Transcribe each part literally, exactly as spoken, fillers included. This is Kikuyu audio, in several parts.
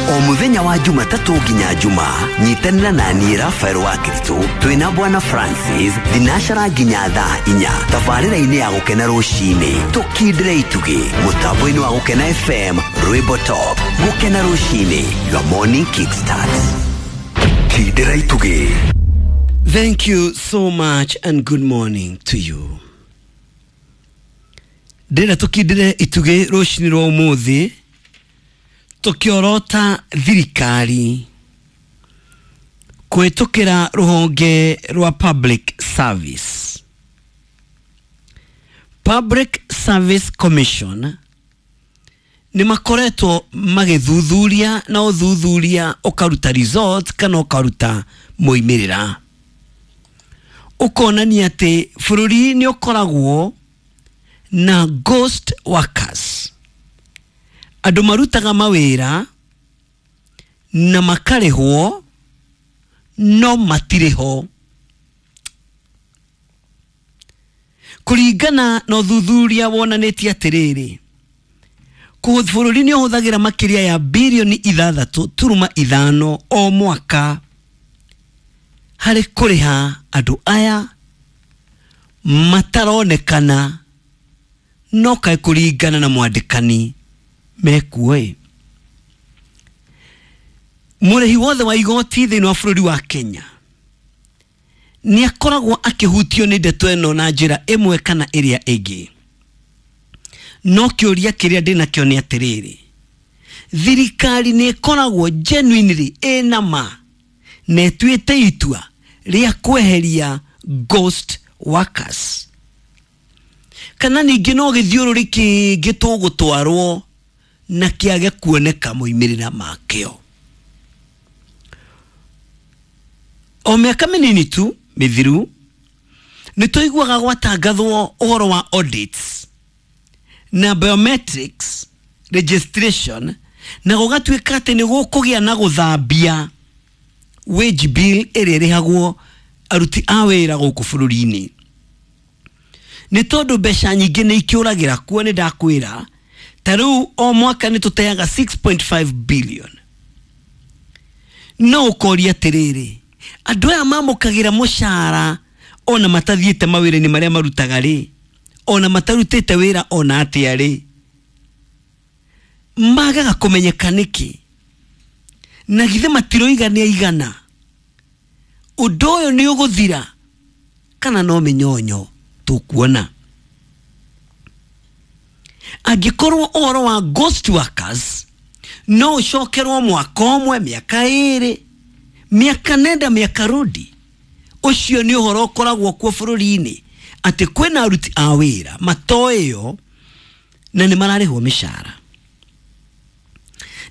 O muthenya wa Jumatatũ nginya Juma, nyitanĩra na niĩ Rafael wa Kristo twĩna Bwana Francis thinacara nginya thaa inya tabarĩra-inĩ ya Gũkena Rũcinĩ, tũkindĩre itugĩ mũtambo-inĩ wa Gũkena F M, Rwĩmbo Top. Gũkena Rũcinĩ, your morning kickstart. Kindĩra itugĩ. Thank you so much and good morning to you. Ndĩrenda tũkindĩre itugĩ rũcinĩ rwa ũmũthĩ tũkĩorota thirikari kũhĩtũkĩra rũhonge rwa Public Service. Public Service Commission nĩ makoretwo magĩthuthuria na ũthuthuria ũkaruta results kana ũkaruta moimĩrĩra, ũkonania atĩ bũrũri nĩ ũkoragwo na ghost workers, andũ marutaga mawĩra na makarĩhwo no matirĩ ho. Kũringana na ũthuthuria wonanĩtie atĩrĩrĩ, bũrũri nĩ ũhũthagĩra makĩria ya birioni ithathatũ turuma ithano o mwaka harĩ kũrĩha andũ aya mataronekana no kaĩ kũringana na mwandĩkani mekuo ĩ. Mũrĩhi wothe wa igoti thĩinĩ wa bũrũri wa Kenya nĩ akoragwo akĩhutio nĩ ndeto ĩno na njĩra ĩmwe kana ĩrĩa ĩngĩ. No kĩũria kĩrĩa ndĩnakĩo nĩ atĩrĩrĩ, thirikari nĩ ĩkoragwo genuinely ĩna ma na ĩtuĩte itua rĩa kweheria ghost workers, kana ningĩ no gĩthiũrũrĩ kĩngĩ tũgũtwarwo na kĩage kuoneka moimĩrĩra makĩo? O mĩaka mĩnini tu mĩthiru nĩ tũiguaga gwatangathwo ũhoro wa audits na biometrics registration, na gũgatuĩka atĩ nĩ gũkũgĩa na gũthambia wage bill ĩrĩa ĩrĩhagwo aruti a wĩra gũkũ bũrũri-inĩ, nĩ tondũ mbeca nyingĩ nĩ ikĩũragĩra kuo. Nĩ ndakwĩra ta rĩu o mwaka nĩ tũteaga six point five billion. No ũkoria atĩrĩrĩ, andũ aya mamũkagĩra mũcara ona matathiĩte mawĩra-inĩ marĩa marutaga rĩ, ona matarutĩte wĩra ona atĩa rĩ, magaga kũmenyeka nĩkĩ? Na githĩ matiroiga nĩ aigana? Ũndũ ũyũ nĩ ũgũthira kana no mĩnyonyo tũkuona? Angĩkorwo ũhoro wa ghost workers no ũcokerwo mwaka ũmwe, mĩaka ĩrĩ, mĩaka nenda, mĩaka rũndi, ũcio nĩ ũhoro ũkoragwo kuo bũrũri-inĩ atĩ kwĩna aruti a wĩra matoĩo na nĩ mararĩhwo mĩcara.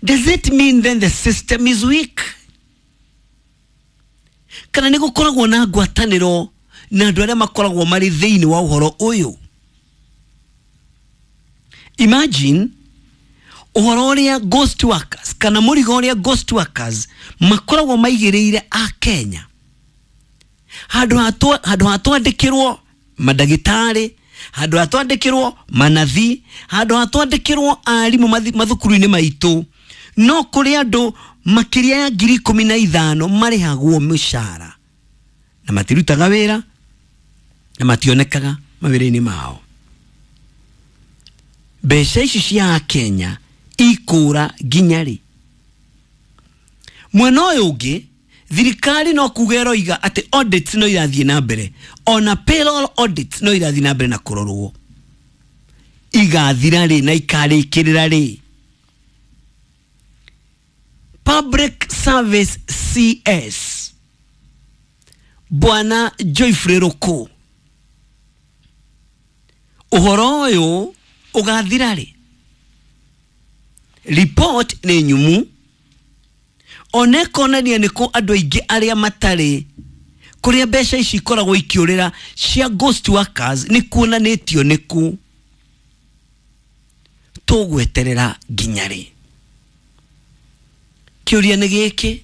Does it mean then the system is weak? Kana nĩ gũkoragwo na ngwatanĩro na andũ arĩa makoragwo marĩ thĩinĩ wa ũhoro ũyũ? Imagine ũhoro ũrĩa ghost workers kana mũrigo ũrĩa ghost workers makoragwo maigĩrĩire a Kenya. Handũ ha twandĩkĩrwo mandagĩtarĩ, handũ ha twandĩkĩrwo manathi, handũ ha twandĩkĩrwo arimũ mathukuru-inĩ maitũ, no kũrĩ andũ makĩria ya ngiri ikũmi na ithano marĩhagwo mĩcara na matirutaga wĩra na mationekaga mawĩra-inĩ mao. Mbeca ici cia Kenya ikũra nginya rĩ? Mwena ũyũ ũngĩ, thirikari no kuga ĩroiga atĩ audits no irathiĩ na mbere, ona payroll audits no irathiĩ na mbere na kũrorwo. Igathira rĩ na ikarĩkĩrĩra rĩ? Public Service C S Bwana Geoffrey Ruku, ũhoro ũyũ ũgathira rĩ? Report nĩ nyumu, ona ĩkonania nĩ kũ andũ aingĩ arĩa matarĩ kũrĩa mbeca ici ikoragwo ikĩũrĩra cia ghost workers nĩ kuonanĩtio nĩ kũ. Tũgweterera nginya rĩ? Kĩũria nĩ gĩkĩ,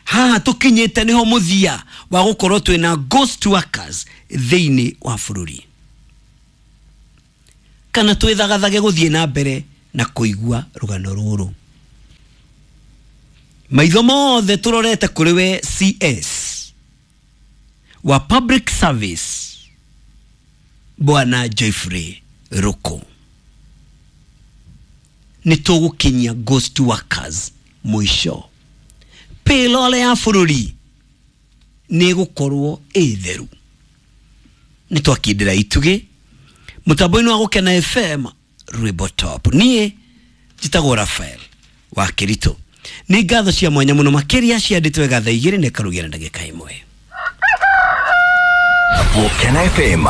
haha tũkinyĩte nĩho mũthia wa gũkorwo twĩna ghost workers thĩinĩ wa bũrũri, kana twĩthagathage gũthiĩ na mbere na kũigua rũgano rũrũ? Maitho mothe tũrorete kũrĩ we C S wa Public Service Bwana Geoffrey Ruku. Nĩ tũgũkinyia ghost workers mũico. Payroll ya bũrũri nĩ ĩgũkorwo ĩ theru. Nĩ twakindĩra itugĩ mũtambo-inĩ wa Gũkena F M rwĩmbo top. Niĩ njĩtagwo Raphael wa Kĩritũ. Nĩ ngatho cia mwanya mũno makĩria ciandĩtwo wega thaa igĩrĩ na ĩkarũgĩra ndagĩka ĩmwe. Gũkena F M.